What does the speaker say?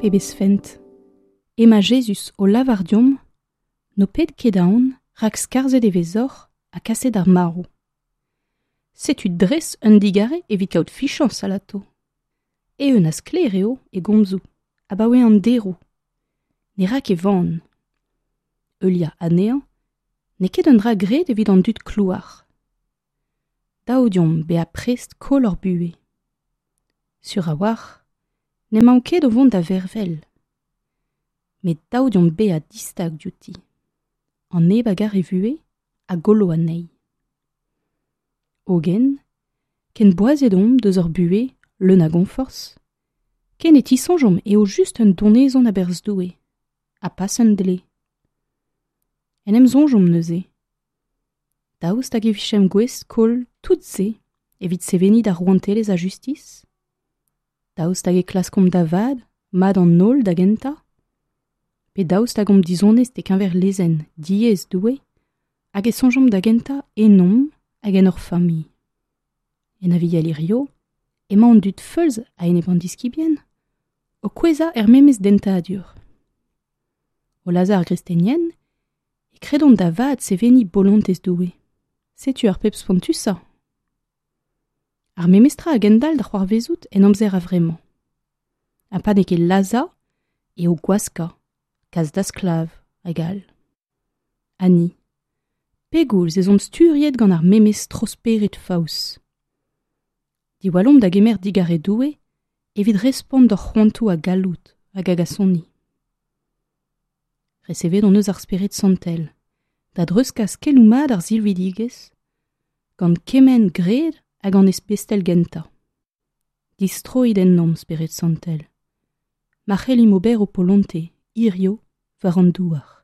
Pebezh fent! Emañ Jezuz o lavar deomp n'ho pet ket aon rak skarzhet e vezoc'h ha kaset d'ar marv. Setu dres un digarez evit kaout fichañs alato. Eeun ha sklaer eo e gomzoù abaoe an deroù. Ne ra ket van. Heuliañ anezhañ n'eo ket un dra graet evit an dud klouar. Dav deomp bezañ prest koll hor buhez. Sur a-walc'h n'emaomp ket o vont da vervel. Met dav deomp bezañ distag diouti. An neb a gar e vuhez a gollo anezhi. Hogen, ken boazet omp deus hor buhez leun a gonforzh, ken e tisoñjomp eo just un donezon a-berzh Doue, ha pas un dle. En em soñjomp neuze. Daoust hag e vijemp gouest koll tout se evit seveniñ d'ar rouantelezh a justis? Daoust hag e klaskomp da vat mat an holl da gentañ? Pe daoust hag omp dizonest e-keñver lezenn diaes Doue hag e soñjomp da gentañ ennomp hag en hor familh? En Aviel hirio emañ an dud feuls a-enep an diskibien o kouezhañ er memes dentadur. O lazhañ ar gristenien e kredont da vat seveniñ bolontez Doue. Setu ar pep spontusañ. Ar memes tra a gendalc'h da c'hoarvezout en amzer a-vremañ. Ha pa n'eo ket lazhañ eo gwaskañ, kas da sklav hag all. Ha ni, pegoulz ez omp sturiet gant ar memes tro-spered faos? Diwallomp da gemer digarez Doue evit respont d'hor c'hoantoù a galloud hag a gasoni. Resevet hon eus ar Spered Santel da dreuzkas keloù mat ar silvidigezh gant kement gred hag an espestel gentañ. Distroit ennomp, Spered Santel, ma c'hellimp ober ho polontez hirio war an douar.